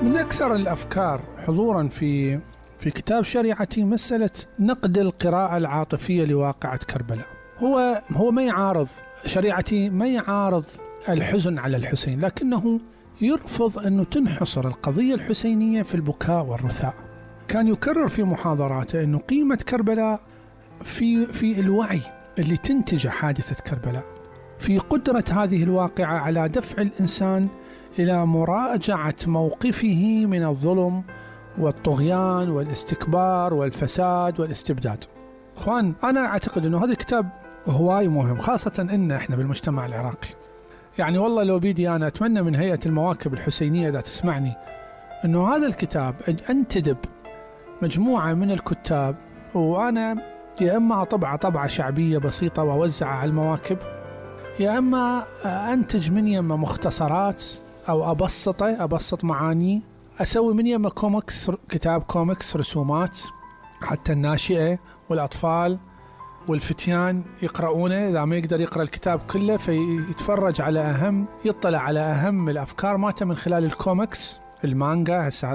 من أكثر الأفكار حضوراً في كتاب شريعتي مسألة نقد القراءة العاطفية لواقعة كربلاء. هو ما يعارض شريعتي، ما يعارض الحزن على الحسين، لكنه يرفض أنه تنحصر القضية الحسينية في البكاء والرثاء. كان يكرر في محاضراته أنه قيمة كربلاء في الوعي اللي تنتج حادثة كربلاء، في قدرة هذه الواقعة على دفع الإنسان إلى مراجعة موقفه من الظلم والطغيان والاستكبار والفساد والاستبداد. أخوان، أنا أعتقد أنه هذا الكتاب هواي مهم، خاصة إن إحنا بالمجتمع العراقي. يعني والله لو بيدي أنا أتمنى من هيئة المواكب الحسينية إذا تسمعني أنه هذا الكتاب أنتدب مجموعة من الكتاب، وأنا يا إما أطبعه طبعة شعبية بسيطة وأوزعها على المواكب، يا إما أنتج من يما مختصرات أو أبسط معاني، أسوي من يما كوميكس، كتاب كوميكس رسومات حتى الناشئة والأطفال والفتيان يقرؤونه. إذا ما يقدر يقرأ الكتاب كله فيتفرج على يطلع على أهم الأفكار مالته من خلال الكوميكس، المانجا. هسه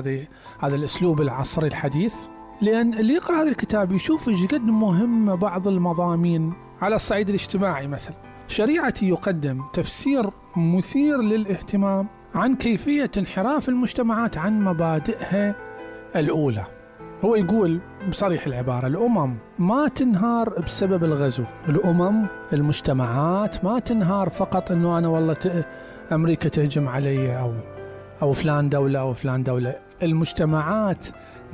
هذا الأسلوب العصري الحديث، لأن اللي يقرأ هذا الكتاب يشوف ايش قد مهم بعض المضامين على الصعيد الاجتماعي. مثلا شريعتي يقدم تفسير مثير للاهتمام عن كيفية انحراف المجتمعات عن مبادئها الأولى. هو يقول بصريح العبارة: الأمم ما تنهار بسبب الغزو، المجتمعات ما تنهار فقط أنه أنا والله أمريكا تهجم علي أو فلان دولة أو فلان دولة. المجتمعات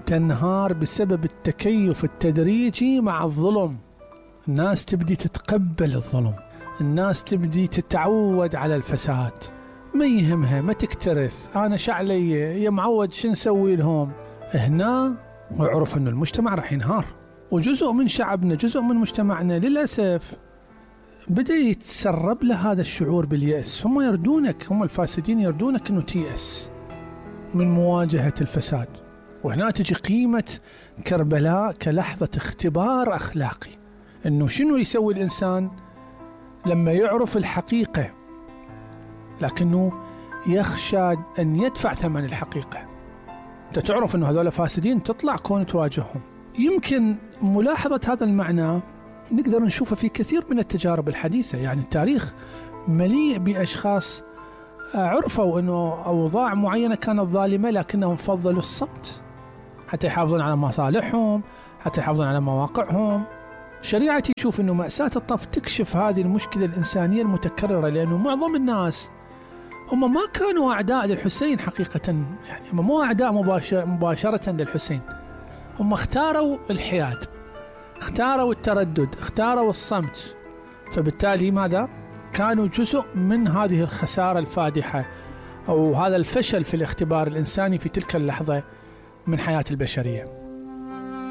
تنهار بسبب التكيف التدريجي مع الظلم. الناس تبدي تتقبل الظلم، الناس تبدي تتعود على الفساد، ما يهمها، ما تكترث، أنا شعلي يا معود شو نسوي لهم. هنا وعرف أن المجتمع راح ينهار، وجزء من شعبنا، جزء من مجتمعنا للأسف بدأ يتسرب له هذا الشعور باليأس. هم يردونك، هم الفاسدين يردونك أنه تيأس من مواجهة الفساد. وهنا تجي قيمة كربلاء كلحظة اختبار أخلاقي، أنه شنو يسوي الإنسان لما يعرف الحقيقة لكنه يخشى أن يدفع ثمن الحقيقة. أنت تعرف أنه هذول فاسدين، تطلع كون تواجههم. يمكن ملاحظة هذا المعنى نقدر نشوفه في كثير من التجارب الحديثة. يعني التاريخ مليء بأشخاص عرفوا أنه أوضاع معينة كانت ظالمة لكنهم فضلوا الصمت حتى يحافظون على مصالحهم، حتى يحافظون على مواقعهم. شريعتي يشوف أنه مأساة الطف تكشف هذه المشكلة الإنسانية المتكررة، لأنه معظم الناس هم ما كانوا أعداء للحسين حقيقة. يعني هم مو أعداء مباشرة للحسين، هم اختاروا الحياد، اختاروا التردد، اختاروا الصمت. فبالتالي ماذا؟ كانوا جزء من هذه الخسارة الفادحة أو هذا الفشل في الاختبار الإنساني في تلك اللحظة من حياة البشرية.